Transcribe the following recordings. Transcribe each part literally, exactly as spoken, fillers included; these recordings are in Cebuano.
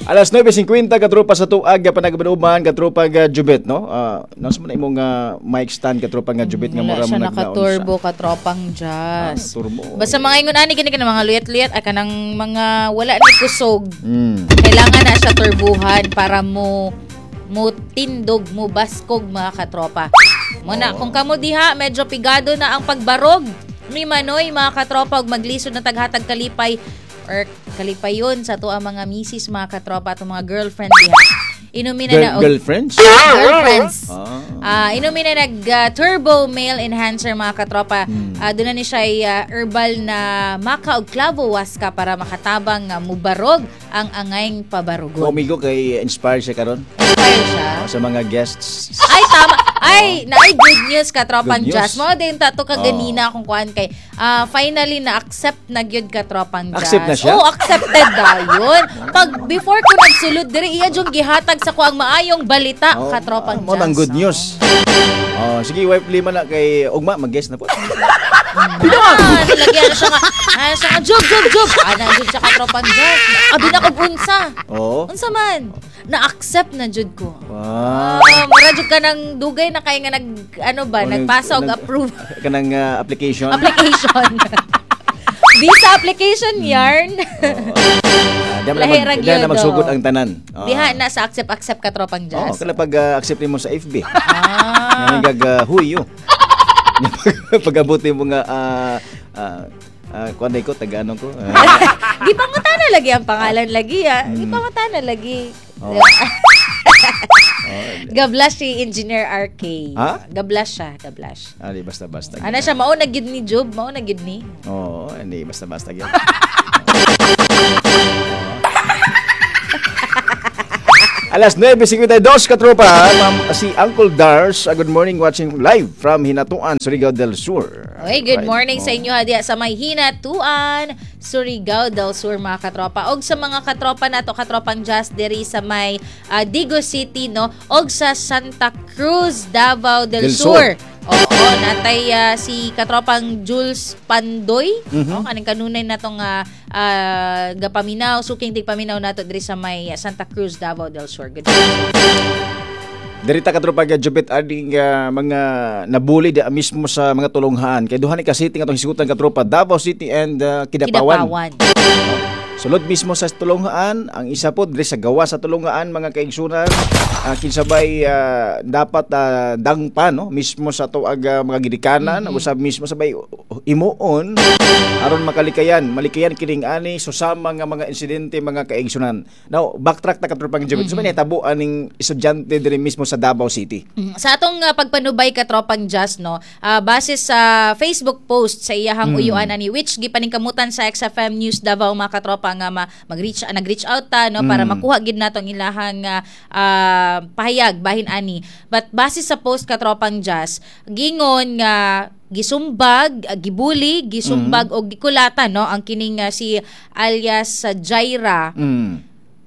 Alas nuwebe singkwenta, katropa, sa tuag panagabanuban, katropa nga Jubet, no? Uh, nasa man imong uh, mic stand, katropa nga Jubet, nga Wala mura siya mo nagnaon sa. Nakaturbo, katropang Jazz. Ah, turbo. Basta mga ingon ani kini ka mga luyat-luyat ay kanang mga wala ni kusog. Mm. Kailangan na siya turbuhan para mo mo tindog, mo baskog, mga katropa. Muna, Oo. kung kamo diha, medyo pigado na ang pagbarog ni Manoy, mga katropa, ug maglisod na taghatag kalipay or kalipayon sa ato ang mga misis, mga katropa, atong mga girlfriend diha. Inumin na Girl, na og girlfriends? Girlfriends. Ah. Ah, inumin na nag ah, turbo male enhancer, mga katropa. Hmm. Ah, doon na ni siya ay, ah, herbal na maka og clavo huasca para makatabang nga mubarog ang angayng pabarugon. Amigo kay inspired siya karon Inspire siya. Sa mga guests. Ay, tama. Ay, naay good news, katropang Good news. Jazz. Mao din tato ka Oh. ganina kung kuan kay ah, finally na accept na gyud, katropang Jazz. Accept na siya? Oh, accepted dayon. Pag before ko nagsulod diri, iya jung gihatag sa ko ang maayong balita, Oh, katropang ah, Mo Jazz. nang good news. Oh, sige, wife lima na kay ugma mag-guest na po. Ah, nilagyan na siya nga. Ah, siya nga, "Jub, jub, jub." Ana, jud siya, katropang Jazz. Abi na kog unsa. Oo. Unsa man? Na-accept na jud ko. Wow. Ah, mura jud ka ng dugay na kay nga nag ano ba, Oh, nag- nagpasa og nag- approve Kanang ah, application. Application. Visa application yarn. Ah, di man na Lahi mag, ra di na gyud, magsugod oh. ang tanan. Oh. Diha na sa accept accept, katropang Oh, Jazz. kala pag ah, accept nimo sa F B. Ah. Nga gag uh, huyo. Pag-abot nimo nga ah ah ah, kuan day ko taga ano ko. Ah, Gipangutana lagi ang pangalan lagi ah. Gipangutana lagi. Oh. Gablash si Engineer R K. Ha? Gablash siya, gablash. Ah, di basta-basta. Ana siya, mao na gid ni Job, mao na gid ni. Oo, hindi basta-basta gyud. Alas nuwebe singkwenta y dos, katropa, ma'am, si Uncle Dars, uh, good morning, watching live from Hinatuan, Surigao del Sur. Oy, good Right. morning sa Oh. inyo diha sa may Hinatuan, Surigao del Sur, mga katropa. Og sa mga katropa nato, katropang Jazz, diri sa may ah, Digos City, no, og sa Santa Cruz, Davao del Del Sur. Sur. Oo, natay ah, si katropang Jules Pandoy, Mhm. no, kaning kanunay natong uh, uh, gapaminaw, suking tigpaminaw nato diri sa may ah, Santa Cruz, Davao del Sur. Good morning. Dirita, katropa ga Jupit, aning uh, mga nabuli di mismo sa mga tulunghaan. Kay duha ni ka city nga atong hisgutan, katropa, Davao City and uh, Kidapawan. Kidapawan. Sulod mismo sa tulunghaan, ang isa po diri sa gawa sa tulunghaan, mga kaigsunan, uh, kinsabay uh, dapat uh, dangpa, no, mismo sa tuag uh, mga gidikanan, mm-hmm. usab mismo sabay imuon aron makalikayan, malikayan kining ani susama nga mga insidente, mga kaigsunan. Now, backtrack ta, katropang Jupit. Mm-hmm. So man tabo aning estudyante diri mismo sa Davao City. Mm, Sa atong uh, pagpanubay, katropang Jazz, no, ah, base sa Facebook post sa iyahang Mm. uyuan ani, which gipaningkamutan sa X F M News Davao, mga katropa, nga ma- mag-reach ah, nag-reach out ta, no, para Mm. makuha gid nato ang ilahang ah, ah, pahayag bahin ani. But base sa post, katropang Jazz, gingon nga gisumbag, ah, gibuli, gisumbag og gikulatan, no, ang kining ah, si alias sa Jaira, Mm.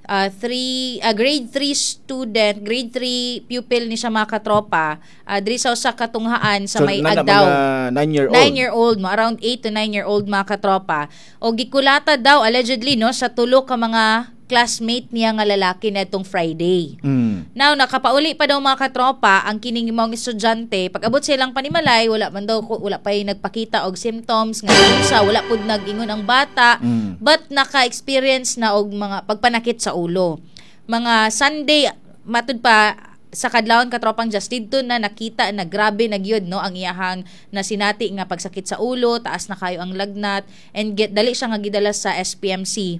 uh, three uh, grade three student, grade three pupil ni siya, mga katropa, uh, diri sa usa ka tunghaan sa So, may nana Agdao. mga nine year old. nine year old mo, around eight to nine year old, mga katropa. O gikulata daw allegedly, no, sa tulo ka mga classmate niya nga lalaki netong Friday. Mm. Now, nakapauli pa daw, mga katropa, ang kining maong estudyante. Pag-abot sa ilang panimalay, wala man daw, wala pa yung nagpakita og symptoms nga unsa, wala pud nag-ingon ang bata, Mm. but naka-experience na og mga pagpanakit sa ulo. Mga Sunday, matud pa sa kadlawon, katropang Jazz, didto na nakita na grabe na gyud, no, ang iyahang nasinati nga pagsakit sa ulo, taas na kayo ang lagnat and get dali siya nga gidala sa S P M C.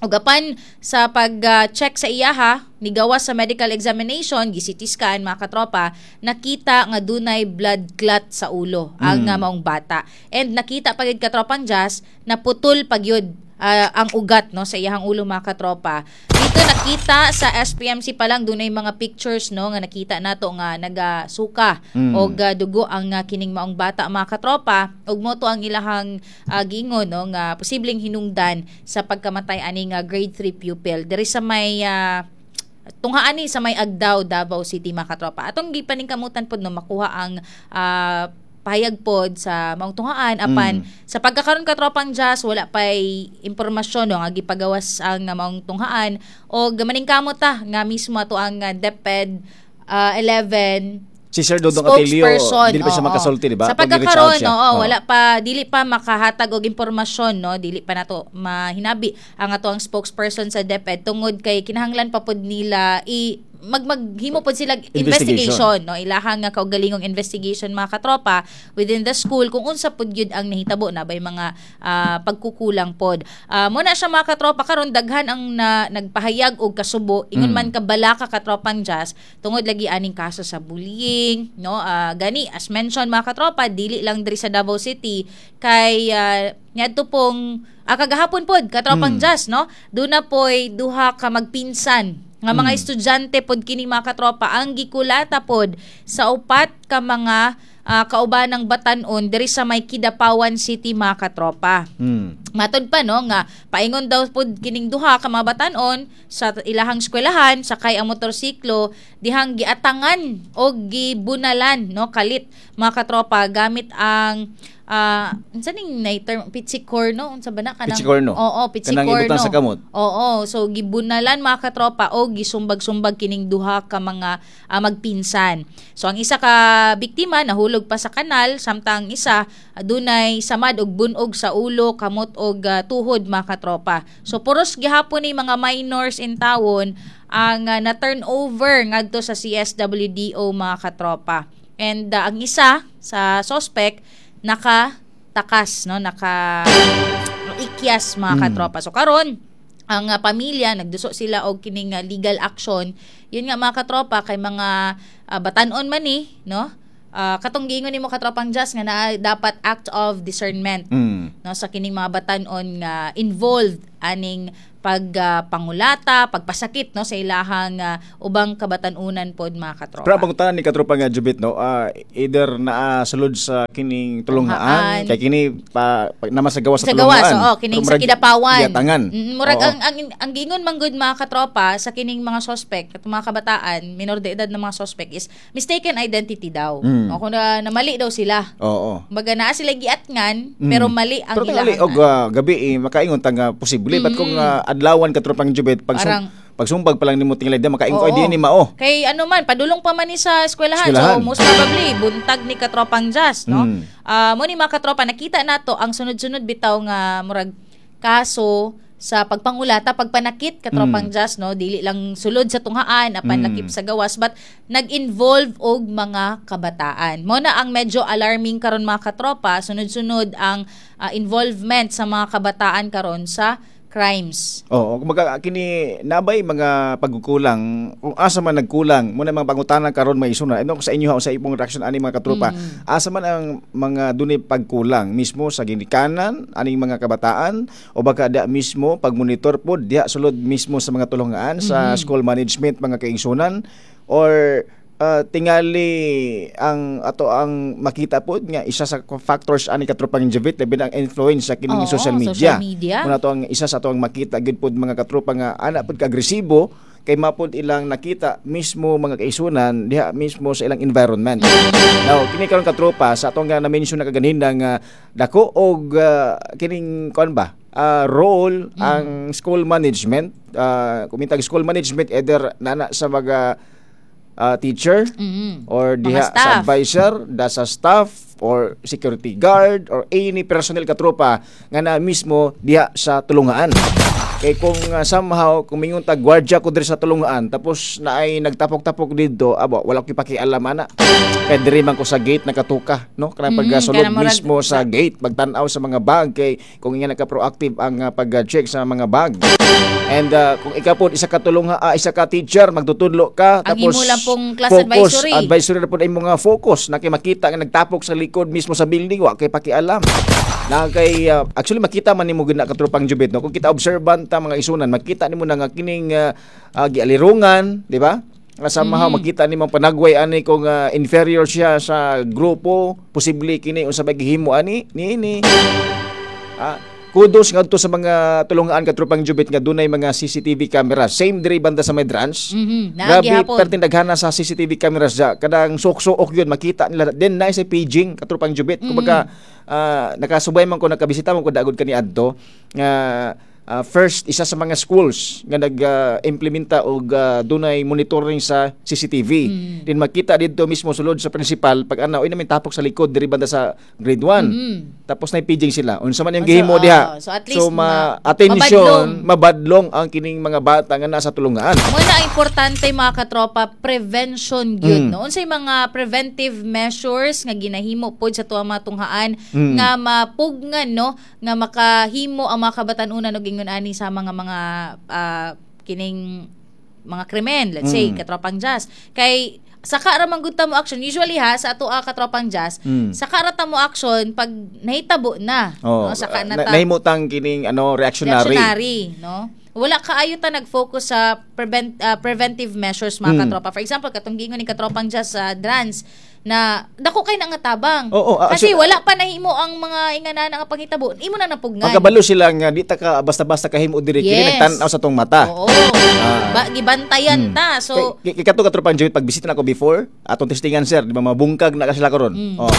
Ug apan sa pag-check sa iyaha, nigawa sa medical examination, gi-C T scan, mga katropa, nakita nga dunay blood clot sa ulo ang Mm. uh, maong bata. And nakita pa gyud, katropang Jazz, naputol pa gyud ah, ang ugat, no, sa iyahang ulo, mga katropa. Dito nakita sa S P M C pa lang, dunay mga pictures, no, nga nakita nato nga nagasuka Mm. og ah, dugo ang ah, kining maong bata, mga katropa, ug mo to ang ilahang uh, giingon, no, nga posibleng hinungdan sa pagkamatay ani nga grade three pupil diri sa may ah, tunghaan ni sa may Agdao, Davao City, mga katropa. Atong gipaningkamutan pod, no, makuha ang ah, pahayag pod sa maong tunghaan apan Mm. sa pagkakaron, katropang Jazz, wala pay impormasyon, no, nga gipagawas ang uh, maong tunghaan og maningkamot ta nga mismo ato ang uh, DepEd uh, eleven Si Sir Dodong Atilio, spokesperson. dili pa siya Oo. makasulti, di ba? Sa Pag i-reach out pagkakaroon, siya. Oo, Oo. wala pa, dili pa makahatag og impormasyon, no, dili pa nato mahinabi ang ato ang spokesperson sa DepEd tungod kay kinahanglan pa pod nila i mag maghimo pod sila investigation. Investigation, no, ilahang nga kaugalingong investigation, mga katropa, within the school kung unsa pod gyud ang nahitabo na bay mga ah, pagkukulang pod. uh, mo na siya, mga katropa, karon daghan ang na, nagpahayag og kasubo ingon Mm. man kabalaka, katropang Jazz, tungod lagi aning kaso sa bullying, no. Ah, gani as mentioned, mga katropa, dili lang diri sa Davao City kay uh, niadto pong ah, kagahapon pod, katropang Mm. Jazz, no, duna poy duha ka magpinsan nga mga Mm. estudyante pod kini, mga katropa, ang gikulata pod sa upat ka mga ah, kaubanang batan-on diri sa may Kidapawan City, mga katropa. Mm. Matod pa, no, nga paingon daw pod kining duha ka mga batan-on sa ilahang eskwelahan sakay ang motorsiklo dihang giatangan o gibunalan, no, kalit, mga katropa, gamit ang ah unsa ning na term, pitsikorno, unsa ba na kanang Pitsikorno. Oo, Kanang pitsikorno. ibutang sa kamot. Oo, so gibunalan, mga katropa, o gisumbag-sumbag kining duha ka mga ah, magpinsan. So ang isa ka biktima nahulog pa sa kanal samtang isa ah, dunay samad og bunog sa ulo, kamot og ah, tuhod, mga katropa. So puros gihapon ni mga minors in tawon ang ah, na turnover ngadto sa C S W D O, mga katropa. And ah, ang isa sa suspect naka takas, no, naka ikyas, mga Mm. katropa. So karon ang uh, pamilya nagduso sila og kining uh, legal action. Yun nga, mga katropa, kay mga uh, batan-on man ni, no? Ah, katong giingon nimo, katropang Jazz, nga naa dapat act of discernment, Mm. no, sa kining mga batan-on nga involved aning pag ah, pangulata, pagpasakit, no, sa ilahang ah, ubang kabatan-unan pod, mga katropa. Pero ang pangutana ni katropa nga Jubit, no, ah, either naa sulod sa kining tulunghaan Tunghaan. kay kini pa, pa naman sa gawas sa, Sa gawas, tulunghaan. Oo, kining Pero sa murag Kidapawan. giatangan. Mm, murag Oo. ang, ang ang giingon man gud, mga katropa, sa kining mga suspect, at mga kabataan, minor de edad na mga suspect is mistaken identity daw. Mm. O kung na, namali daw sila. Oo. Kumbaga naa sila giatngan Mm. pero mali ang Pero tingali ilahang og ah, gabi eh, makaingon ta nga posible, but kung ah, adlawan, katropang Jubit, pag Parang- pagsumbag pa lang nimo tingali di makaingon ko Oo. di ni mao. Kay ano man, padulong pa man ni sa eskwelahan. Eskwelahan. So most probably buntag ni katropang Jazz, no? Mm. Ah, mo ni, mga katropa, nakita nato ang sunod-sunod bitaw nga murag kaso sa pagpangulata, pagpanakit, katropang Mm. Jazz, no, dili lang sulod sa tunghaan apan Mm. lakip sa gawas but nag-involve og mga kabataan. Mo na ang medyo alarming karon, mga katropa, sunod-sunod ang ah, involvement sa mga kabataan karon sa crimes. Oo, kumbaga kini nabay mga pagkukulang, kung asa man nagkulang mo na mga pangutana karon may isuna. Ano sa inyo ha, sa imong reaction ani, mga katropa? Mm. Asa man ang mga dunay pagkulang mismo sa ginikanan aning mga kabataan o baka da mismo pagmonitor pod diha sulod mismo sa mga tulungan sa Mhm. school management, mga kaigsunan, or uh, tingali ang ato ang makita pod nga isa sa factors ani, katropang Jovit, labi na ang influence sa kining Oo, social media. Social media. Muna to ang isa sa ato ang makita gid pod, mga katropa, nga ana pod ka-agresibo kay mapod ilang nakita mismo, mga kaisunan, diha mismo sa ilang environment. Now, kini karon, katropa, sa atong nga na-mention na kaganina nga dako og ah, kining kuan ba? Ah, role ang school management, uh, kumintag school management, either nana sa mga ah, teacher Mm. or Mga diha sa staff. advisor, da sa staff or security guard or any personnel, katropa, nga na mismo diha sa tulungaan. Kay kung uh, somehow kung mingon ta gwardya ko diri sa tulungaan tapos naay nagtapok-tapok didto, abo, wala ko pakialam ana. Kay diri man ko sa gate nakatuka, no? Kanang Mm, pagkasulod kanang murag- mismo sa gate, pagtan-aw sa mga bag kay kung nga naka-proactive ang uh, pag-check sa mga bag. And uh, kung ikaw po isa ka tulunga, ah, isa ka teacher, magtutudlo ka Ang tapos imo lang pong class focus, advisory. Advisory na po ang imong nga focus na kay makita nga nagtapok sa likod mismo sa building, wa kay pakialam. Na kay uh, actually makita man nimo gud na, katropang Jubit, no, kung kita observant ta, mga isunan, makita nimo na nga kining uh, uh, gialirungan, di ba? Nga somehow Mm. makita nimo panagway ani kung uh, inferior siya sa grupo, posible kini unsa ba gihimo ani niini. Ah, Kudos ngadto sa mga tulungan, katropang Jubit, nga dunay mga C C T V camera. Same diri banda sa may Drance. Mhm. Naa Grabe, gihapon. Perting daghana sa C C T V cameras dya. Kadang sok-sok yun, makita nila. Then na sa paging, katropang Jubit. Kumbaga, ah, nakasubay man ko, nakabisita man ko dagod kani adto nga ah, first isa sa mga schools nga nag-implementa og ah, dunay monitoring sa C C T V. Din makita didto mismo sulod sa principal pag ana oy namin tapok sa likod diri banda sa grade one. Mm. Tapos na paging sila. Unsa man yung Oh, so, gihimo diha. oh, so at least So ma ma- attention, mabadlong ang kining mga bata nga nasa tulungan. Mo na ang importante, mga katropa, prevention gyud, Mm. no? Unsay mga preventive measures nga ginahimo pod sa tuwa mga tunghaan Mm. nga mapugnan, no, nga makahimo ang mga kabatan-unan og ingon ani sa mga mga ah, kining mga krimen, let's say, Mm. katropang Jazz? Kay saka ra man gud ta mo action usually ha sa ato, ah, katropang Jazz. Mm. Saka ra ta mo action pag nahitabo na, Oh, no? Saka na na, ta nahimutang kining ano, reactionary. Reactionary, no? Wala kaayo ta nag-focus sa prevent ah, preventive measures, mga Mm. katropa. For example, katong giingon ni katropang Jazz sa Drance na dako kay na nga tabang. Oo, ah, Kasi actually- wala pa nahimo ang mga ingana nga panghitabo, imo na napugnan. Magkabalo sila nga di ta ka basta-basta kahimo diri kini Yes. nagtan-aw sa tong mata. Oo. Ah. Ba, gibantayan ta. So, kay, kay kato, katropang Joey, pag bisita nako before, atong testingan, sir, di ba mabungkag na ka sila karon? Mm. Oh.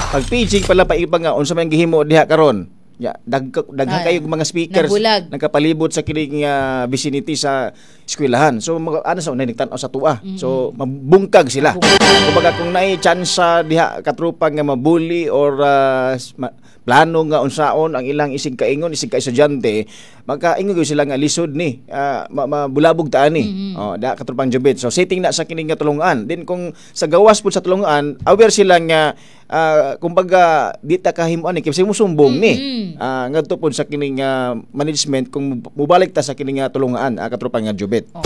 Pag paging pala pa iba nga unsa man gihimo diha karon. Ya, dag daghan Ah, kayo mga speakers nabulag. nagkapalibot sa kining ah, vicinity sa eskwelahan. So mga ano sa unay nagtan-aw sa tua. So mabungkag sila. Kumbaga kung naay chance diha, katropa, nga mabully or ah, s- ma- plano nga unsaon ang ilang isig kaingon, isig ka estudyante, makaingon gyud sila nga lisod ni, ah, ma- mabulabog ta ani. Oh, da, katropang Jubit. So setting na sa kining nga tulungan. Din kung sa gawas pud sa tulungan, aware sila nga ah, kumbaga di ta kahimo ani kay mo sumbong ni. Mm-mm. Ah, ngadto pud sa kining ah, management kung mubalik ta sa kining nga tulungan, ah, katropang nga Jubit. Oh.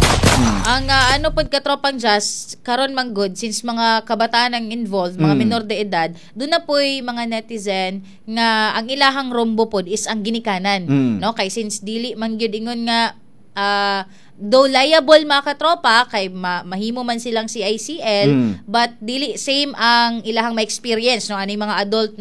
Ang ah, ano pod, katropang Jazz, karon man good since mga kabataan ang involved, mga Mm. minor de edad, doon na po'y mga netizen nga ang ilahang rombo pod is ang ginikanan, Mm. no? Kay since dili man gyud ingon nga ah, though liable, mga katropa, kay ma- mahimo man silang C I C L, Mm. but dili same ang ilahang ma-experience, no, ani mga adult.